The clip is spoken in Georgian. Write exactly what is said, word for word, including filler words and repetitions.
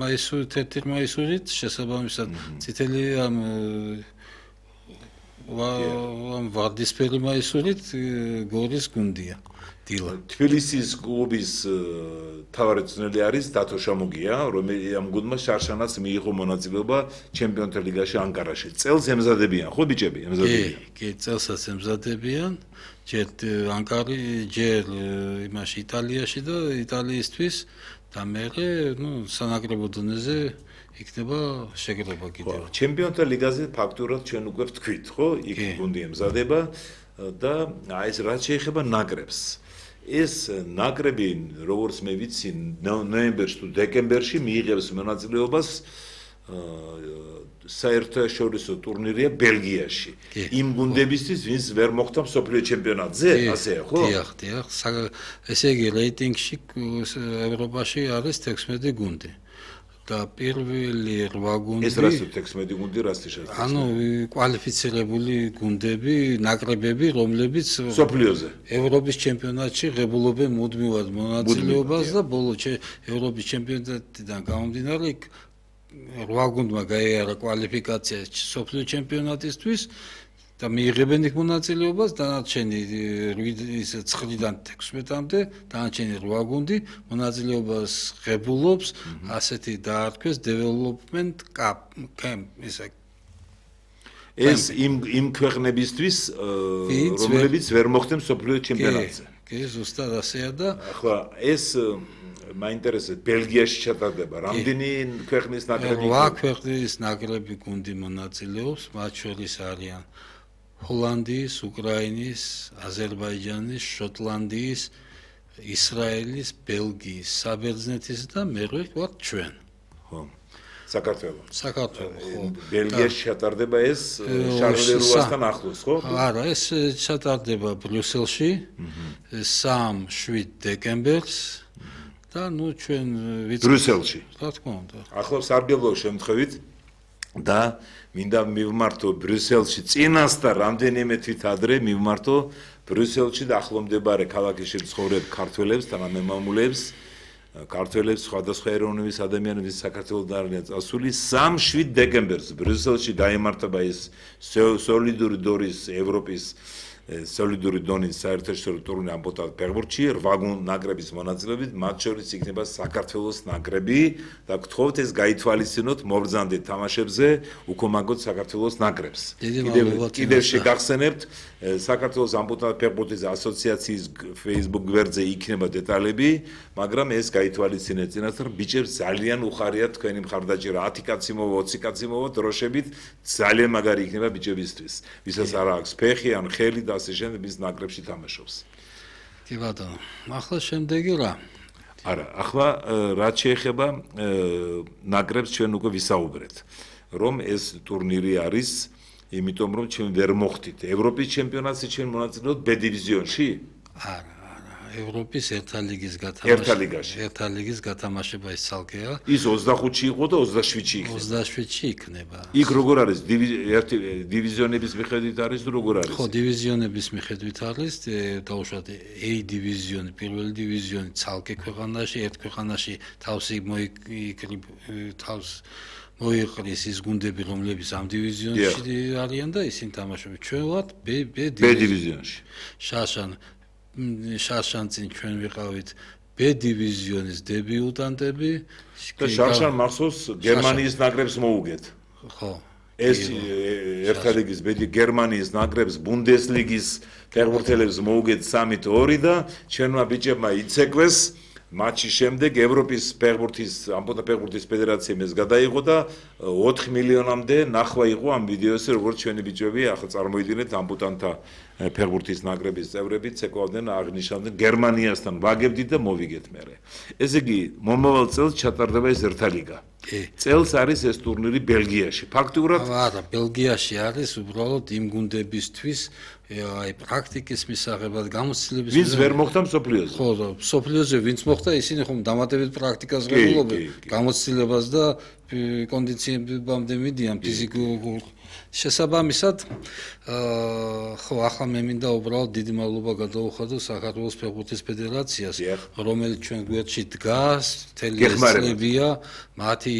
მაისურით ერთი მაისურით შესაბამისად წითელი ამ ამ ვარდისფერი მაისურით გორის გუნდია დილა. თბილისის კლუბის მთავარი მწვრთნელი არის დათო შამოგია, რომელიც ამ გუნდმა შარშანაც მიიღო მონაწილეობა ჩემპიონთა ლიგაში ანკარაში. წელს ემზადებიან, ხო ბიჭები, ემზადებიან. კი, კი, წელსაც ემზადებიან. ჯერ ანკარი, ჯერ იმაში იტალიაში და იტალიისთვის და მერე, ნუ სანაკრებო დონეზე იქნება შეგრება კიდევ. ჩემპიონთა ლიგაზე ფაქტურად ჩვენ უკვე ვთქვით, ხო? იქ გუნდი ემზადება და აი ეს რაც შეეხება ნაკრებს. ეს ნაკრები, როგორც მე ვიცი, ნოემბერში თუ დეკემბერში მიიღებს მონაწილეობას საერთაშორისო ტურნირია ბელგიაში. იმ გუნდებისთვის, ვინც ვერ მოხვდა მსოფლიო ჩემპიონატზე, ასეა, ხო? დიახ, დიახ. ესე იგი, რეიტინგში ევროპაში არის თექვსმეტი გუნდი. და პირველი რვა გუნდი ეს რას თექვსმეტი გუნდი რას შეიძლება? ანუ კვალიფიცირებული გუნდები, ნაკრებები, რომლებიც სოფლიოზე ევროპის ჩემპიონატში ღებულობენ მუდმივად მონაწილეობას და ბოლო ევროპის ჩემპიონატიდან გამომდინარე რვა გუნდმა გაიარა კვალიფიკაცია სოფლიო ჩემპიონატისთვის და მიიღებენ იქ მონაწილეობას დანარჩენი ის ცხრიდან თექვსმეტამდე დანარჩენი რვა გუნდი მონაწილეობას ღებულობს ასეთი დაარქვეს development camp ისე ეს იმ იმ ქვეყნებისთვის რომლებიც ვერ მოხვდნენ სოფლიო ჩემპიონატზე. კი, ზუსტად ასეა და ახლა ეს მაინტერესებს ბელგიაში ჩატარდება რამდენი ქვეყნის ნაკრები? რვა ქვეყნის ნაკრები გუნდი მონაწილეობს, მათ შორის არიან ჰოლანდიის, უკრაინის, აზერბაიჯანის, შოტლანდიის, ისრაელის, ბელგიის, საბერძნეთის და მერე ვართ ჩვენ. ხო. საქართველო. საქართველო, ხო. ბელგიაში ჩატარდება ეს შარლერუასთან ახლოს, ხო? არა, ეს ჩატარდება ბრიუსელში სამ შვიდ დეკემბერს და ნუ ჩვენ ვიცით ბრიუსელში. რა თქმა უნდა. ახლავს არბელო შემთხვევით და მინდა მივმართო ბრიუსელში წინასწარ რამდენიმე თვით ადრე მივმართო ბრიუსელში და ახლომდებარე ქალაქებში მცხოვრებ ქართველებს და მემამულეებს ქართველებს სხვადასხვა ეროვნების ადამიანების საქართველოს არიან წასული სამ შვიდ დეკემბერს ბრიუსელში გაიმართება ეს სოლიდური დონის ევროპის სოლიდური დონის საერთაშორისო ტურნირი ამბოთად ფეხბურთში რვა ნაკრების მონაწილეობით მათ შორის იქნება საქართველოს ნაკრები და გთხოვთ ეს გაითვალისწინოთ მობრძანდეთ თამაშებზე უკომაგოთ საქართველოს ნაკრებს. კიდევ შეგახსენებთ საქართველოს ამბოთად ფეხბურთის ასოციაციის Facebook გვერდზე იქნება დეტალები, მაგრამ ეს გაითვალისწინეთ წინასწარ ბიჭებს ძალიან უხარიათ თქვენი მხარდაჭერა ათი კაცი მოვა ოცი კაცი მოვა დროშებით ძალიან მაგარი იქნება ბიჭებისთვის ვისაც არ აქვს ფეხი ან ხელი და ასე შემდეგ ის ნაკრებში თამაშობს. კი ბატონო, ახლა შემდეგი რა? არა, ახლა რაც შეეხება ნაკრებს ჩვენ უკვე ვისაუბრეთ, რომ ეს ტურნირი არის, იმიტომ რომ ჩვენ ვერ მოხვდით ევროპის ჩემპიონატში ჩვენ მონაწილეობთ B დივიზიონში? არა, არა, ევროპის ერთა ლიგის გათამაშება. ერთა ლიგაში. ერთა ლიგის გათამაშება ის ცალკეა. ის ოცდახუთში იყო და ოცდაშვიდში იქნება. ოცდაშვიდში იქნება. იქ როგორ არის? ერთი დივიზიონების მიხედვით არის თუ როგორ არის? ხო, დივიზიონების მიხედვით არის, დაუშვათ A დივიზიონი, პირველი დივიზიონი ცალკე ქვეყანაში, ერთ ქვეყანაში თავსი მოიკრი თავს მოიყრის ის გუნდები, რომლებიც ამ დივიზიონში არიან და ისინი თამაშობენ. ჩვენ ვართ B დივიზიონში. შაშან შაშანწინ ჩვენ ვიყავით B დივიზიონის დებიუტანტები და შაშან მახსოვს გერმანიის ნაკრებს მოუგეთ. ხო. ეს ერთა ლიგის B გერმანიის ნაკრებს ბუნდესლიგის ფეხბურთელებს მოუგეთ სამით ორი და ჩვენმა ბიჭებმა იცეკვეს მატჩის შემდეგ ევროპის ფეხბურთის ამბოთა ფეხბურთის ფედერაციამ ეს გადაიღო და ოთხ მილიონამდე ნახვა იყო ამ ვიდეოზე როგორც ჩვენი ბიჭები ახლა წარმოიდგინეთ ამბოტანთა ფეხბურთის ნაკრების წევრები ცეკვავდნენ აღნიშნავდნენ გერმანიასთან ვაგებდით და მოვიგეთ მერე. ესე იგი მომავალ წელს ჩატარდება ეს ერთა ლიგა. წელს არის ეს ტურნირი ბელგიაში. ფაქტურად არა, ბელგიაში არის უბრალოდ იმ გუნდებისთვის აი პრაქტიკის მისაღებად გამოცდილების ვინც ვერ მოხვდა მსოფლიოზე. ხო, მსოფლიოზე ვინც მოხვდა, ისინი ხომ დამატებით პრაქტიკას ღებულობენ, გამოცდილებას და კონდიციებამდე მიდიან ფიზიკურ შესაბამისად, ხო, ახლა მე მინდა უბრალოდ დიდი მადლობა გადავუხადო საქართველოს ფეხბურთის ფედერაციას, რომელიც ჩვენ გვერდში დგას, მთელი ეს წლებია, მათი